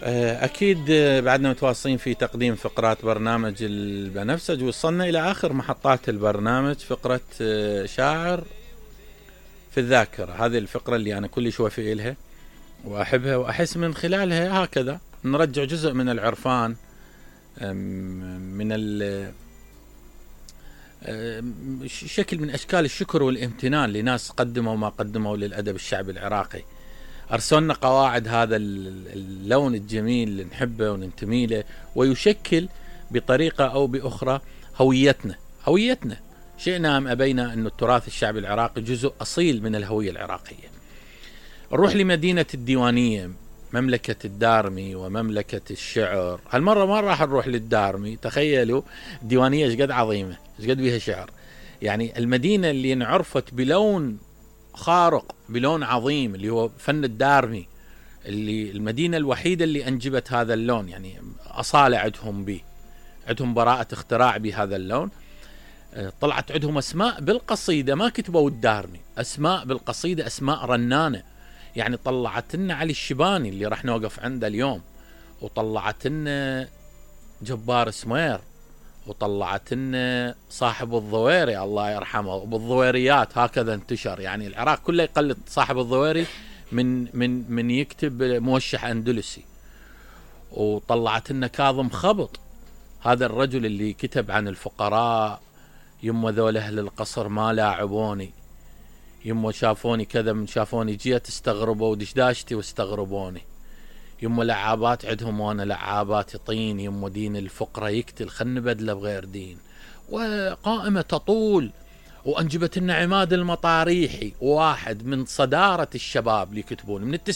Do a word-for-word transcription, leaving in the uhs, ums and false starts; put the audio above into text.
أكيد بعدنا متواصلين في تقديم فقرات برنامج البنفسج، وصلنا إلى آخر محطات البرنامج، فقرة شاعر في الذاكرة. هذه الفقرة اللي أنا كلش وفي إلها وأحبها، وأحس من خلالها هكذا نرجع جزء من العرفان، من شكل من أشكال الشكر والامتنان لناس قدموا ما قدموا للأدب الشعبي العراقي. أرسلنا قواعد هذا اللون الجميل اللي نحبه وننتمي له، ويشكل بطريقة أو بأخرى هويتنا هويتنا شئنا أم أبينا أن التراث الشعبي العراقي جزء أصيل من الهوية العراقية. نروح لمدينة الديوانية، مملكة الدارمي ومملكة الشعر. هالمرة ما راح نروح للدارمي، تخيلوا الديوانية ايش قد عظيمة، ايش قد بيها شعر. يعني المدينة اللي انعرفت بلون خارق، بلون عظيم، اللي هو فن الدارمي، اللي المدينة الوحيدة اللي أنجبت هذا اللون. يعني أصالة عندهم به، عندهم براءة اختراع بهذا اللون. طلعت عندهم أسماء بالقصيدة ما كتبوا الدارمي، أسماء بالقصيدة، أسماء رنانة. يعني طلعت لنا علي الشباني اللي راح نوقف عنده اليوم، وطلعت لنا جبار سمير، وطلعت لنا صاحب الضويري الله يرحمه، وبالضويريات هكذا انتشر. يعني العراق كله يقلد صاحب الضويري من من من يكتب موشح أندلسي. وطلعت لنا كاظم خبط، هذا الرجل اللي كتب عن الفقراء، يما ذول أهل القصر ما لاعبوني، يما شافوني كذا من شافوني جيت استغربوا ودشداشتي واستغربوني، يما لعابات عندهم وانا لعاباتي طين، يما دين الفقرة يقتل خن بدله بغير دين. وقائمة تطول. وانجبت لنا عماد المطاريحي، واحد من صدارة الشباب اللي يكتبون من